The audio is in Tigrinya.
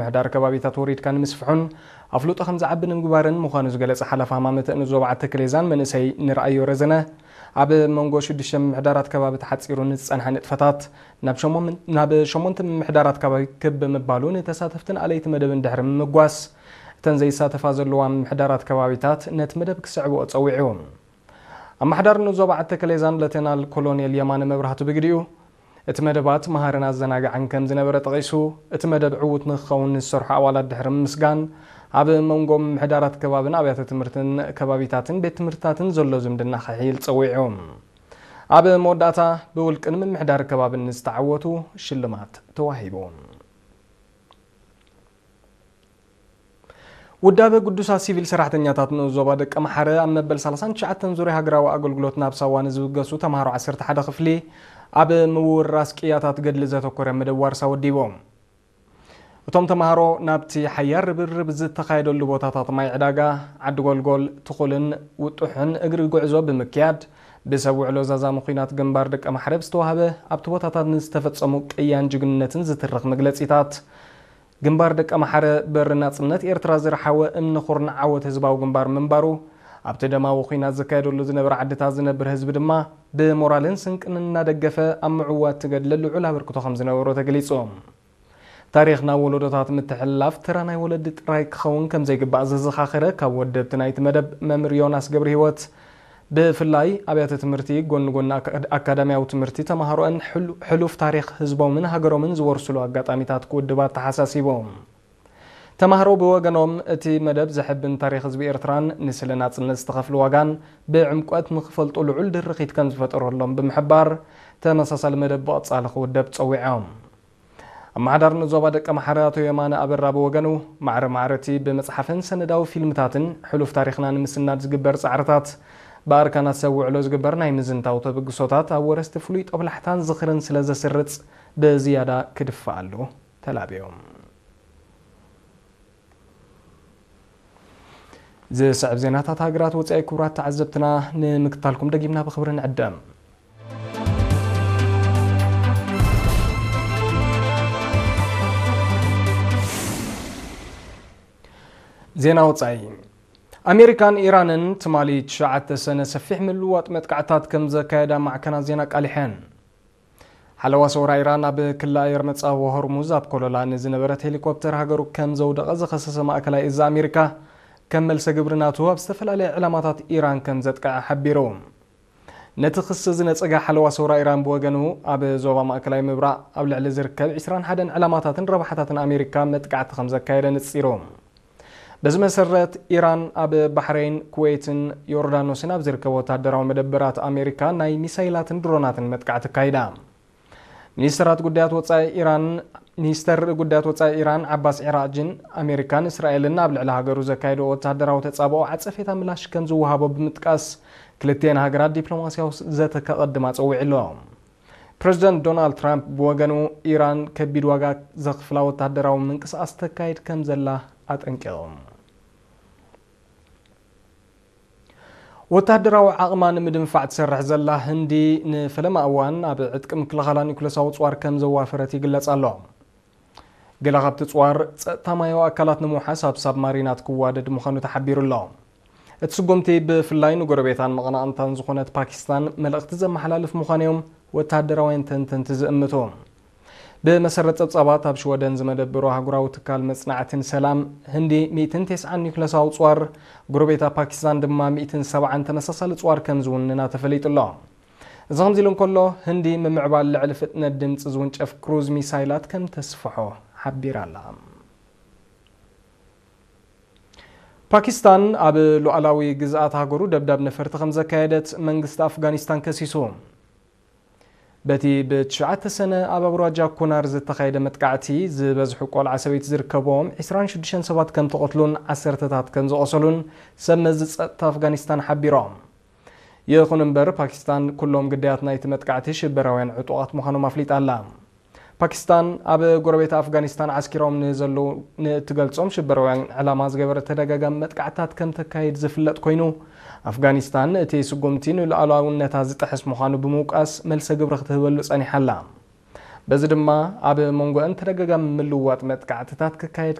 ምሕዳር ከባቢታት ወሪድካ ንምስፍሑን ኣፍልጦ ከም ዝዓቢ ንምግባርን ምዃኑ ዝገለጸ ሓላፊ ሃማመተ ንኡስ ዞባ ዓዲ ተከሌዛን መንእሰይ ንርኣዮ ረዘነ፣ ኣብ መንጎ ሽዱሽተ ምምሕዳራት ከባቢ ተሓጺሩ ንዝጸንሐ ንጥፈታት ናብ ሸሞም-፣ ናብ ሸሞንተ ምምሕዳራት ከባቢ ክብ ብምባሉ ንተሳተፍትን ኣለይቲ መደብን ድሕሪ ምምጓስ፣ እተን ዘይሳተፋ ዘለዋ ምምሕዳራት ከባቢታት ነቲ መደብ ክስዕብኦ ጸዊዑ። ኣመሓዳሪ ንኡስ ዞባ ዓዲ ተከሌዛን ሌተናል ኮሎኔል የማነ መብራህቱ ብግዲኡ፣ እቲ መደባት መሃርን ኣዘናጋዕን ከም ዝነበረ ጠቒሱ፣ እቲ መደብ ዕዉት ንክኸውን ንዝሰርሑ ኣባላት ድሕሪ ምምስጋን፣ ኣብ መንጎ ምምሕዳራት ከባብን ኣብያተ ትምህርትን ከባቢታትን ቤት ትምህርትታትን ዘሎ ዝምድና ክሕይል ጸዊዑ። ኣብ መወዳእታ፣ ብውልቅን ምምሕዳር ከባብን ንዝተዓወቱ ሽልማት ተዋሂቡ። ውዳበ ግዱሳት ሲቪል ሰራሕተኛታት ንኡስ ዞባ ደቀምሓረ ኣብ መበል ሰላሳን ትሽዓተን ዙርያ ሃገራዊ ኣገልግሎት ናብ ሳዋ ንዝብገሱ ተምሃሮ ዓሰርተ ሓደ ክፍሊ ኣብ ምውርራስ ቅያታት ገድሊ ዘተኮረ መደብ ዋርሳ ወዲቦም። እቶም ተምሃሮ ናብቲ ሓያል ርብርብ ዝተኻየደሉ ቦታታት ማይ ዕዳጋ፣ ዓዲ ጎልጎል፣ ትኹልን ውጡሕን እግሪ ጉዕዞ ብምክያድ፣ ብሰብ ውዕሎ ዛዛሚ ኲናት ግንባር ደቀምሓረ ብዝተዋህበ ኣብቲ ቦታታት ንዝተፈጸሙ ቅያን ጅግንነትን ዝትርኽ መግለጺታት፣ ግንባር ደቀምሓረ በሪ ናጽነት ኤርትራ ዝረሓወ እምኒ ኩርናዕ ዓወት ህዝባዊ ግንባር ምንባሩ፣ ኣብቲ ደማዊ ኲናት ዝካየደሉ ዝነበረ ዓድታት ዝነብር ህዝቢ ድማ ብሞራልን ስንቅን እናደገፈ ኣብ ምዕዋት እቲ ገድሊ ልዑል ኣበርክቶ ከም ዝነበሮ ተገሊጹ። ታሪኽ ናብ ወለዶታት ምትሕልላፍ ተራ ናይ ወለዲ ጥራይ ክኸውን ከም ዘይግባእ ዘዘኻኸረ ካብ ወደብቲ ናይቲ መደብ መምህር ዮናስ ገብረህይወት፣ ብፍላይ ኣብያተ ትምህርቲ ጎኒ ጎኒ ኣካ-፣ ኣካዳሚያዊ ትምህርቲ ተማሃሮአን ሕሉ-፣ ሕሉፍ ታሪኽ ህዝቦምን ሃገሮምን ዝወርስሉ ኣጋጣሚታት ክውድባ ኣተሓሳሲቦም። ተማሃሮ ብወገኖም፣ እቲ መደብ ዘሐብን ታሪኽ ህዝቢ ኤርትራን ንስለ ናጽነት ዝተኸፍለ ዋጋን ብዕምቆት ንኽፈልጡ ልዑል ድርኺት ከም ዝፈጠረሎም ብምሕባር፣ ተመሳሳሊ መደብ ብቐጻሊ ክውደብ ጸዊዖም። ኣመሓዳሪ ንኡስ ዞባ ደቀምሓረ ኣቶ የማነ ኣበራ ብወገኑ፣ ማዕረ ማዕረ እቲ ብመጽሓፍን ሰነዳዊ ፊልምታትን ሕሉፍ ታሪኽና ንምስናድ ዝግበር ጻዕርታት፣ ብኣርካናት ሰብ ውዕሎ ዝግበር ናይ ምዝንታው ተበግሶታት ኣብ ወረስቲ ፍሉይ ጦብላሕታን ዝኽርን ስለ ዘስርጽ፣ ብዝያዳ ክድፈኣሉ ተላብዮም። ዝስዕብ ዜናታት ሃገራት ወጻኢ ክቡራት ተዓዘብትና ንምክታልኩም ደጊምና ብኽብሪ ንዕደም። ዜና ወጻኢ። ኣሜሪካን ኢራንን ትማሊ ትሽዓተ ሰነ ሰፊሕ ምልውዋጥ መጥቃዕታት ከም ዘካየዳ ማዕከናት ዜና ኣቃሊሐን። ሓለዋ ሰውራ ኢራን ኣብ ክሊ ኣየር መጻወ ሆርሙዝ ኣብ ኮለላ ንዝነበረት ሄሊኮፕተር ሃገሩ ከም ዘውደቐ ዝኸሰሰ ማእከላይ እዝ ኣሜሪካ፣ ከም መልሰ ግብሪ ናቱ ኣብ ዝተፈላለየ ዕላማታት ኢራን ከም ዘጥቅዐ ሓቢሩ። ነቲ ክሲ ዝነጸገ ሓለዋ ሰውራ ኢራን ብወገኑ፣ ኣብ ዞባ ማእከላይ ምብራቕ ኣብ ልዕሊ ዝርከብ ዕስራን ሓደን ዕላማታትን ረብሓታትን ኣሜሪካ መጥቃዕቲ ከም ዘካየደ ንጺሩ። በዚ መሰረት፣ ኢራን ኣብ ባሕረይን ኩዌትን ዮርዳኖስን ኣብ ዝርከቡ ወተሃደራዊ መደበራት ኣሜሪካ ናይ ሚሳይላትን ድሮናትን መጥቃዕቲ ኣካይዳ። ሚኒስተራት ጉዳያት ወጻኢ ኢራን፣ ሚኒስተር ጉዳያት ወጻኢ ኢራን ዓባስ ዒራጅን ኣሜሪካን እስራኤልን ኣብ ልዕሊ ሃገሩ ዘካየድኦ ወተሃደራዊ ተጻብኦ ዓጸፌታ ምላሽ ከም ዝወሃቦ ብምጥቃስ፣ ክልቲኤን ሃገራት ዲፕሎማስያዊ ዘተ ከቐድማ ጸዊዑ ኣሎ። ፕረዚደንት ዶናልድ ትራምፕ ብወገኑ፣ ኢራን ከቢድ ዋጋ ዘኽፍላ ወተሃደራዊ ምንቅስቓስ ተካይድ ከም ዘላ ኣጠንቂቑ። ወተሃደራዊ ዓቕማ ንምድንፋዕ ትሰርሕ ዘላ ህንዲ ንፈለማ እዋን ኣብ ዕጥቂ ምክልኻላ ኒኩለሳዊ ጽዋር ከም ዘዋፈረት ይግለጽ ኣሎ። ገለ ካብቲ ጽዋር ጸጥታ ማያዊ ኣካላት ንምውሓስ ኣብ ሳብማሪናት ክዋደድ ምዃኑ ተሓቢሩ ኣሎ። እቲ ስጉምቲ ብፍላይ ንጎረቤታን መቐናቕንታን ዝኾነት ፓኪስታን መልእኽቲ ዘመሓላልፍ ምዃኑ እዮም ወተሃደራውያን ተንተንቲ ዝእምቱ። ብመሰረት ጸብጻባት፣ ኣብ ሽወደን ዝመደበሩ ኣህጉራዊ ትካል መጽናዕትን ሰላም፣ ህንዲ ሚእትን ተስዓን ኒኩለሳዊ ጽዋር፣ ጎረቤታ ፓኪስታን ድማ ሚእትን ሰብዓን ተመሳሳሊ ጽዋር ከም ዝውንና ተፈሊጡ ኣሎ። እዚ ከምዚ ኢሉ እንከሎ፣ ህንዲ ምምዕባል ልዕሊ ፍጥነት ድምጺ ዝውንጨፍ ክሩዝ ሚሳይላት ከም ተስፍሖ ሓቢራ ኣላ። ፓኪስታን ኣብ ሉዓላዊ ግዝኣት ሃገሩ ደብዳብ ነፈርቲ ከም ዘካየደት መንግስቲ ኣፍጋኒስታን ከሲሱ። በቲ ብትሽዓተ ሰነ ኣብ ኣውራጃ ኩናር ዝተኻየደ መጥቃዕቲ፣ ዝበዝሑ ቆልዓ ሰበይቲ ዝርከብዎም ዕስራን ሽዱሽተን ሰባት ከም ተቐትሉን ዓሰርተታት ከም ዝቖሰሉን ሰብ መዚ ጸጥታ ኣፍጋኒስታን ሓቢሮም። ይኹን እምበር፣ ፓኪስታን ኩሎም ግዳያት ናይቲ መጥቃዕቲ ሽበራውያን ዕጡቓት ምዃኖም ኣፍሊጣ ኣላ። ፓኪስታን ኣብ ጎረቤት ኣፍጋኒስታን ዓስኪሮም ንዘለዉ ንእትገልጾም ሽበራውያን ዕላማ ዝገበረ ተደጋጋሚ መጥቃዕትታት ከም ተካይድ ዝፍለጥ ኮይኑ፣ ኣፍጋኒስታን እቲ ስጉምቲ ንሉዓላውነታ ዝጥሕስ ምዃኑ ብምውቃስ መልሰ ግብሪ ክትህበሉ ጸኒሓ ኣላ። በዚ ድማ ኣብ መንጎአን ተደጋጋሚ ምልውዋጥ መጥቃዕትታት ክካየድ